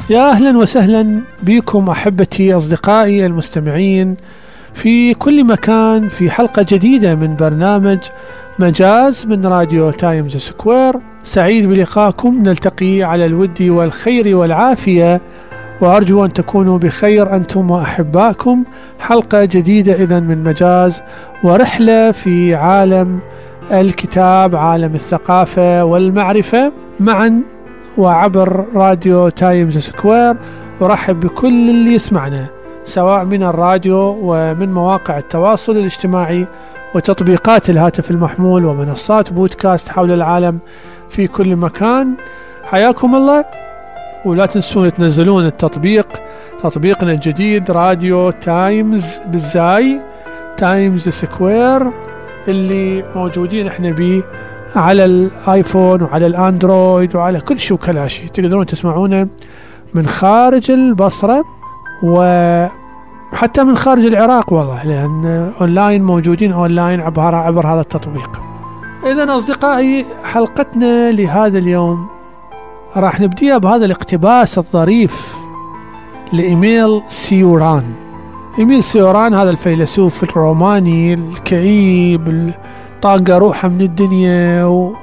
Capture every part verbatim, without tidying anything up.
يا أهلا وسهلا بكم أحبتي أصدقائي المستمعين في كل مكان في حلقة جديدة من برنامج مجاز من راديو تايمز سكوير. سعيد بلقائكم، نلتقي على الود والخير والعافية، وأرجو أن تكونوا بخير أنتم وأحبائكم. حلقة جديدة إذن من مجاز ورحلة في عالم الكتاب، عالم الثقافة والمعرفة معا وعبر راديو تايمز سكوير. ورحب بكل اللي يسمعنا سواء من الراديو ومن مواقع التواصل الاجتماعي وتطبيقات الهاتف المحمول ومنصات بودكاست حول العالم في كل مكان. حياكم الله، ولا تنسون تنزلون التطبيق، تطبيقنا الجديد راديو تايمز بالزاي تايمز سكوير اللي موجودين احنا بيه على الايفون وعلى الاندرويد وعلى كل شو كلاشي. تقدرون تسمعونه من خارج البصرة وحتى من خارج العراق والله، لأن أونلاين موجودين أونلاين عبر, عبر هذا التطبيق. إذن أصدقائي، حلقتنا لهذا اليوم راح نبديها بهذا الاقتباس الظريف لإيميل سيوران. إيميل سيوران هذا الفيلسوف الروماني الكئيب طاقة روحه من الدنيا و...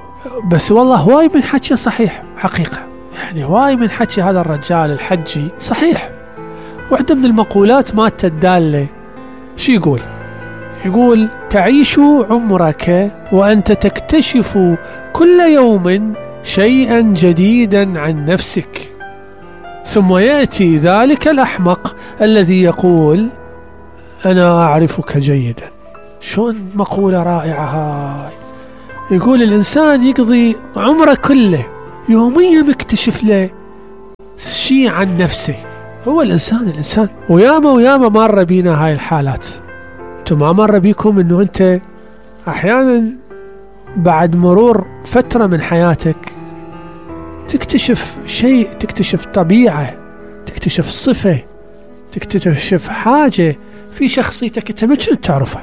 بس والله هواي من حكي صحيح حقيقة، يعني هواي من حكي هذا الرجال الحجي صحيح. واحدة من المقولات مالته الدالة شو يقول؟ يقول: تعيش عمرك وأنت تكتشف كل يوم شيئا جديدا عن نفسك، ثم يأتي ذلك الأحمق الذي يقول: أنا أعرفك جيدا. شون مقولة رائعة هاي. يقول الإنسان يقضي عمره كله يوميا يكتشف له شيء عن نفسه. هو الإنسان الإنسان وياما وياما مر بينا هاي الحالات. انتم ما مر بيكم انه انت احيانا بعد مرور فترة من حياتك تكتشف شيء، تكتشف طبيعة، تكتشف صفة، تكتشف حاجة في شخصيتك انت ما كنت تعرفها.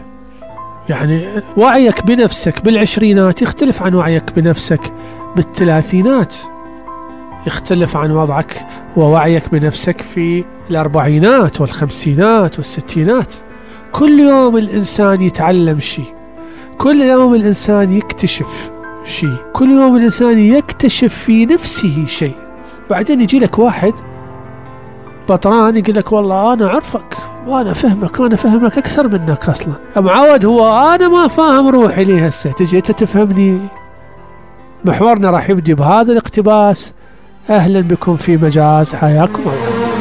يعني وعيك بنفسك بالعشرينات يختلف عن وعيك بنفسك بالثلاثينات، يختلف عن وضعك ووعيك بنفسك في الأربعينات والخمسينات والستينات. كل يوم الإنسان يتعلم شيء، كل يوم الإنسان يكتشف شيء، كل يوم الإنسان يكتشف في نفسه شيء. بعدين يجي لك واحد بطران يقول لك: والله أنا أعرفك وأنا فهمك، أنا فهمك أكثر منك أصلا. معود هو أنا ما فاهم روحي ليه هسه تجي أنت تفهمني. محورنا راح يبدي بهذا الاقتباس. أهلا بكم في مجاز، حياكم الله.